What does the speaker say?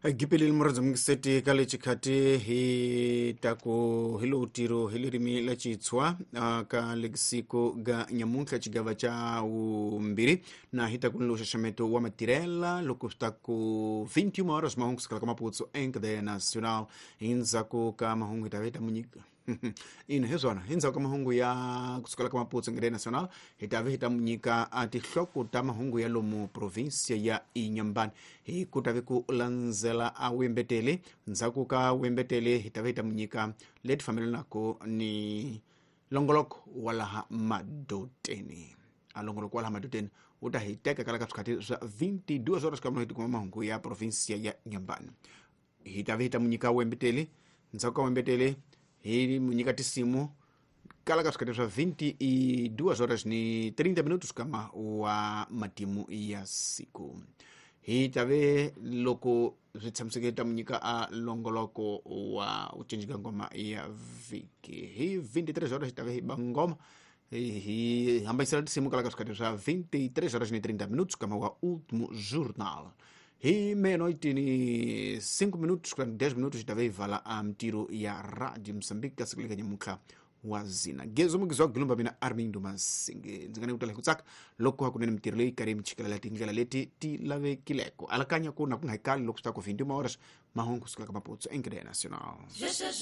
Gipeleli muradzi ka le chikhati hi taku hi lo tiro hi lirimi la chitswa ka lexiko ga nyamuntlha chigava cha wumbirhi na hi taku ni lo xaxameto wa matirela loko swi ta ku 21 horas mahungu kusukela ka maputsu encadeia nacional. Hindzhaku ka mahungu hi ta va hi ta munyika ina hi swona hindzhaku ka mahungu ya kusukela ka maputsu encadeia nacional hi ta va hi ta munyika a tinhloko ta mahungu ya lomu provinsia ya Inhambane hi ku ta ve ku landzela a wembetele. Ndzhaku ka wembetele hi ta va hi ta munyika leti fambelanaka ni longoloko wa laha madoteni. A longoloko wa laha madoteni wu ta hi teka kala ka swikhati swa 22 horas kambe hi tikuma mahungu ya provinsia ya Inhambane hi ta va hi ta munyika wembetele. Ndzhaku ka wembetele hi munyika tisimu kala ka swikhati swa 22 horas ni 30 minutos kama wa matimu ya siku hi ta ve loko swi tshamiseke ta munyika a longoloko wa u cinca ngoma ya vhiki hi 23 horas hi ta ve hi ba ngoma hi hambanyisela tisimu kala ka swikhati swa 23 horas ni 30 minutos kama wa último jornal. Hi meia-noite ni 5 minutos 10 minutos hi ta ve hi vala a mitiro ya Radio Mozambique ka siku leka nyamuntlha wa zina gezo mugizi wa gilumba mina Armindo Masinge ndzi nga ni ku tala hi ku tsaka loko hakunene mitirho leyi karhi mi chikelela tindlela leti ti lavekileko alakanya ku na ku nga hi kali loko swi ta ku 21 horas mahungu kusukela ka maputsu encadeia nacional.